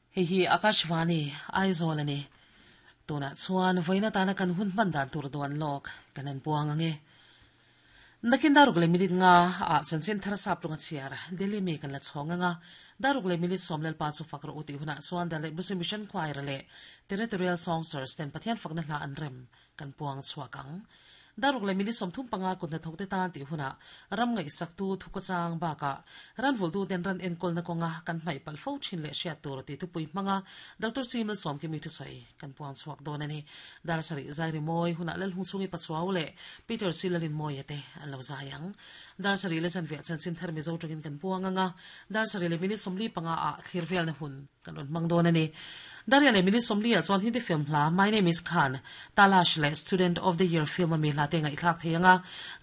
Hei hi Akashvani, Aizawl a ni. Tunah chuan vawiin atana kan hun hman dan tur duan lawk kan en puang ang e. Nakin daruk leh minute nga ah chanchin thar sap tung a chhiar Delhi mi kan la chhawng ang a, daruk leh minute sawm Lalpa chu fak rawh u tih hunah chuan Daleh Busi Mission Choir leh Territorial Songsters ten Pathian fakna hla an rem kan puang chhuak ang. Daruk leh minute 35 kut hnathawkte tan tih hunah ram ngaihsaktu thukawchang bakah ran vulhtuten ran enkawlna kawnga kan hmaih palh fo thin leh hriat tur tih thupui hmanga Doctor Simil Sawmkimi thusawi kan puang chhuak dawn a ni. Dar sarih zai rimawi hunah Lalhung chhungi Pachuau leh Peter Silalinmawia te an lo zai ang. Dar sarih leh zanviah chanchin thar Mizo tangin kan puang ang a, dar sarih leh minute 45 ah thlir velna hun kan rawn hmang dawn a ni. Daria leh minute 40 ah chuan Hindi film hla My Name Is Khan, Talash leh Student of the Year film a mi hla te ngaihthlak thei ang a,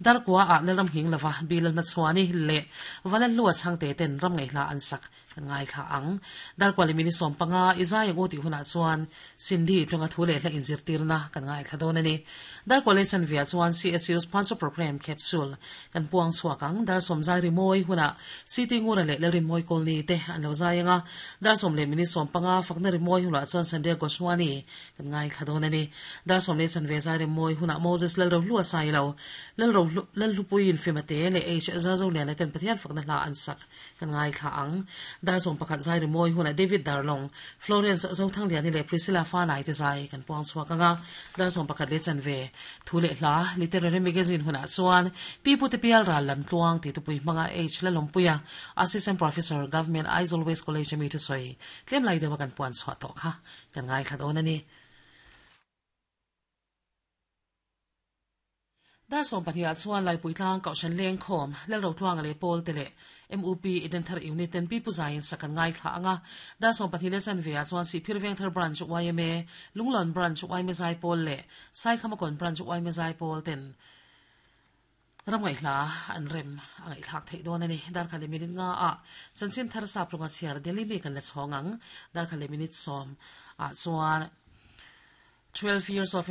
dar kua ah Lalram Nghing Lova, Bilal Hmachhuani leh Valalhlua Chhangte ten ram ngaihhla an sak Kan ngaithla ang. Darkuali minute 15 i zai ang u tih hunah chuan Cindy tawnga thu leh hla inzirtirna kan ngaithla dawn a ni. Darkuali chanvia chuan CSU sponsor program capsule kan puang chhuak ang. Dar sawm zai rimawi hunah CT Ngura leh Lalrinmawi Kawlni te an lo zai ang a. Dar sawm leh minute 15 fakna rimawi hunah chuan Sandhya Goswani kan ngaithla dawn a ni. Dar sawm leh chanve zai rimawi hunah Moses Lalrohlua Sailo, Lalrohlu, Lalhlupuiin Fimate leh H Zazoliana ten Pathian fakna hla an sak. Kan ngaithla ang. Dar 11 zai rimawi hunah David Darlong, Florence Zothangliani leh Priscilla Fanai te zai kan puang chhuak ang a. Dar 11 leh chanve thu leh hla Literary Magazine hunah chuan Pi Pute Pial Ral Lam Tluang tih tupui hmanga H Lalawmpuia, Assistant Professor, Government Aizawl West College a mi thusawi tlem lai deuha kan puan chhuah tawh kha kan ngaithla dawn a ni. Dar 12 ah chuan Laipui tlang Kohhran Lengkhawm, Lalrotluanga leh Pawl te leh MUP Edenthar Unit ten Pi Pu Zaiin sak an ngaithla ang a. Dar 12 leh chanve ah chuan Sihphir Vengthar Branch yma, Lunglawn Branch yma Zaipawl leh Saikhamakawn Branch yma Zaipawl ten ram ngaihhla an rem a ngaihthlak theih dawn a ni. Dar khat leh minute nga ah chanchin thar sap rawnga chhiar Delhi mi kan la chhawng ang. Dar khat leh minute sawm ah chuan 12 years of.